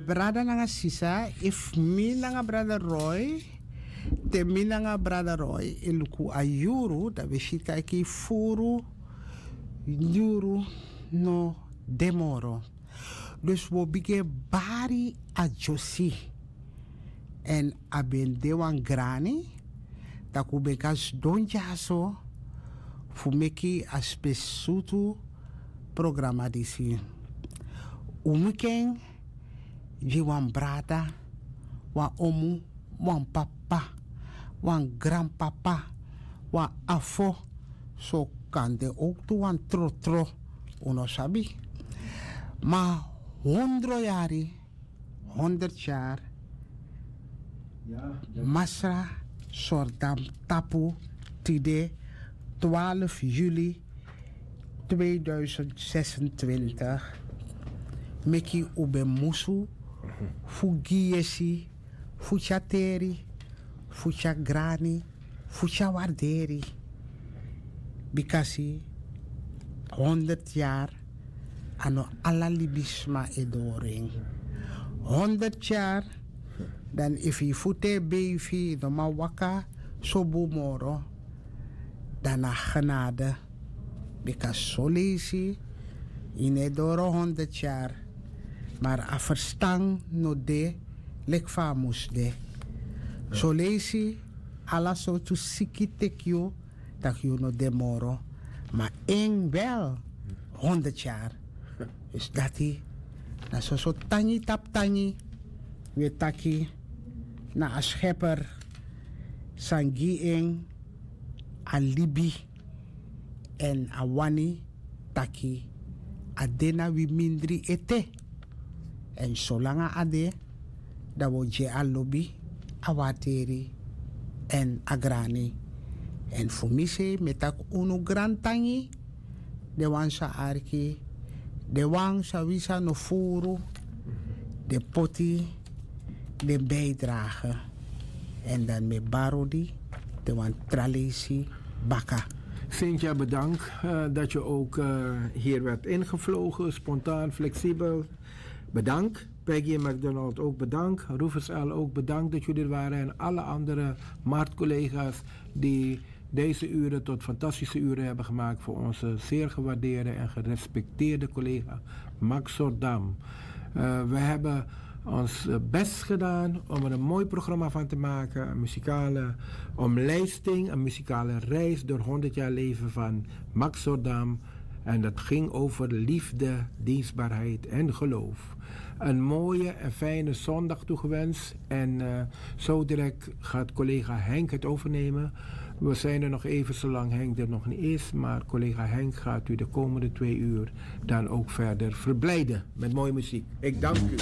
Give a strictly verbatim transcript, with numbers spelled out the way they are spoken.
Brada nanga sisa, efu mi nanga brada Roy, te mi nanga brada Roy e luku a yuru, dan wi si taki furu yuru no de moro. Dus wi o bigin e bari a dyosi. Èn a ben de wan grani, tak' un ben kan sidon dyaso fu meki a spesrutu programa disi. Un muken gi wan brada, wan omu, wan papa, wan granpapa, wan afo, so kan de owktu wan trotro, un no sabi. Ma hondro yari, honderd yari, masra Sordam tapu tide, twaalf juli tweeduizend zesentwintig, meki un ben musu fu gi yesi, fu tyari teri, fu tyari grani, fu tyari warderi. Bikasi honderd yari, a no ala libisma e doro en. Honderd yari, dan efu yu futu e beifi, yu no man waka so bun moro, dan na genade. Bika soleisi yu no e doro honderd yari, ma a ferstan no de leki fa a mus de. Soleisi ala sortu siki teki yu, tak' yu no de moro. Ma en wel honderd yari. Dus dati na soso tangi tapu tangi. Wi e taki na a Scheper san gi en a libi èn a wani taki a de na wi mindri ete. Èn solanga a de, dan wi o gi en a lobi, a wateri èn a grani. Èn fu mi sei mi e taki unu grantangi, den wan san arki, den wan san wi san no furu, den poti den bijdrage. Èn dan mi e bari odi den wan tra leisi baka. Cynthia, bedankt eh, dat je ook eh, hier werd ingevlogen, spontaan, flexibel. Bedankt. Peggy en McDonald ook bedankt. Rufus L. ook bedankt dat jullie er waren. En alle andere marktcollega's die deze uren tot fantastische uren hebben gemaakt voor onze zeer gewaardeerde en gerespecteerde collega Max Sordam. Eh, we hebben ons eh, best gedaan om er een mooi programma van te maken. Een muzikale omlijsting, een muzikale reis door honderd jaar leven van Max Sordam. En dat ging over liefde, dienstbaarheid en geloof. Een mooie en fijne zondag toegewenst. En eh, zo direct gaat collega Henk het overnemen. We zijn er nog even zolang Henk er nog niet is. Maar collega Henk gaat u de komende twee uur dan ook verder verblijden met mooie muziek. Ik dank u.